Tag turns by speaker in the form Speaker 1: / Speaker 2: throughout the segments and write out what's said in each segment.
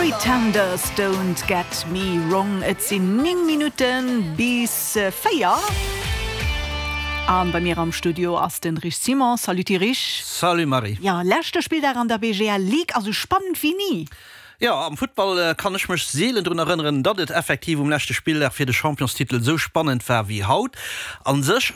Speaker 1: Pretenders, Don't Get Me Wrong. Et sinn 9 Minutten bis 4 an bei mir am Studio ass den Rich Simon. Salut Rich.
Speaker 2: Salut Marie.
Speaker 1: Jo, leschte Spilldag an der BGL Ligue, a sou spannend wéi ni.
Speaker 2: Jo, am Futtball kann ech mech seelen drun erënneren, datt et effektiv um leschte Spilldag fir de Championstitel esou spannend war wéi haut. A sech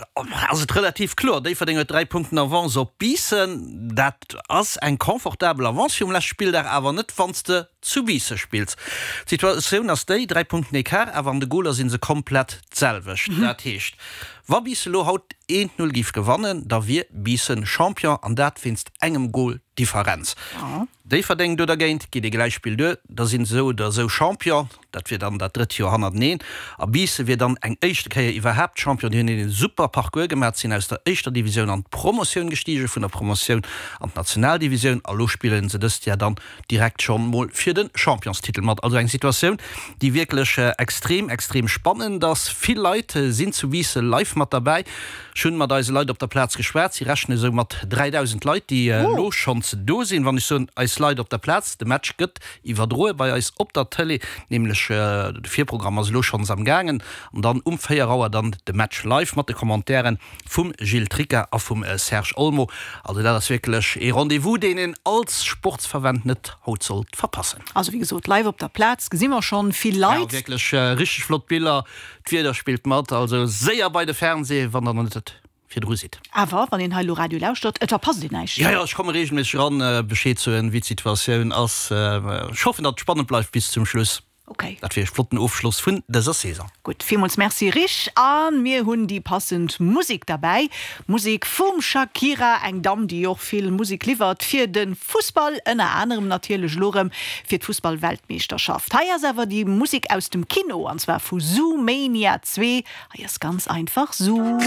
Speaker 2: ass et relativ kloer, Déifferdeng huet 3 Punkten Avance op Biissen. Dat ass eng confortabel Avance fir um leschte Spilldag, awer net wann s de zu Biisse spills. D'Situatioun ass déi, 3 Punkten Ecart, awer an de Goler si se komplett d'selwecht. Dat heescht, wa Biissen elo haut 1, 0 géif gewannen, da wier Biissen Champion, an dat wéinst engem Gol Differenz. Déifferdeng do dergéint geet ee Gläichspill duer, da sinn se esou oder esou Champion, dat wier dann dat drëtt Joer hannerteneen. A Biissen wier dann eng éischte Kéier iwwerhaapt Champion. Déi hunn een super Parcours gemaach, sinn aus der éischter Divisioun an d'Promotioun gestigen, vun der Promotioun an d'Nationaldivisioun a lo spillen se dëst Jahr dann direkt schonn mol fir de Championstitel mat. Also eng Situatioun, déi wierklech extrem, extrem spannend ass. Vill Leit sinn zu Biissen live mat derbäi. Ech hunn mat eise Leit op der Plaz geschwat. Si rechne sou mat 3.000 Leit, déi elo schonns do sinn. Wann ech soen eis Leit op der Plaz, de Match gëtt iwwerdroe bei eis op der Tëlee, nämlech de Virprogramm ass elo schonns am gaangen an dann um 4 Auer dann de Match live mat de Commentairen vum Gilles Tricca a vum Serge Olmo. Also dat ass wierklech ee Rendez-vous, deen een als Sportsfervent net haut sollt verpassen.
Speaker 1: Also wéi gesot, live op der Plaz gesi mer schonn vill Leit.
Speaker 2: Jo, wierklech richteg flott Biller. D'Wieder spillt mat, also séier bei de Fernseh, wann der nach net virdru sidd.
Speaker 1: Awer wann een hei elo Radio lauschtert, et verpasst een näischt.
Speaker 2: Jo, jo, ech komme regelméisseg eran, Bescheed soen, wéi d'Situatioun ass. Ech hoffen, datt et spannend bleift bis zum Schluss.
Speaker 1: Ok.
Speaker 2: Dat wier e flotten Ofschloss vun dëser Saison.
Speaker 1: Gutt, villmools Merci Rich. A mir hunn déi passend Musek derbäi. Musek vum Shakira, eng Damm, déi och vill Musek liwwert fir de Fussball, ënner anerem natierlech elo erëm fir d'Fussballweltmeeschterschaft. Hei ass awer déi Musek aus dem Kino, an zwar vu Zoomania 2. Hei ass ganz einfach Zoo.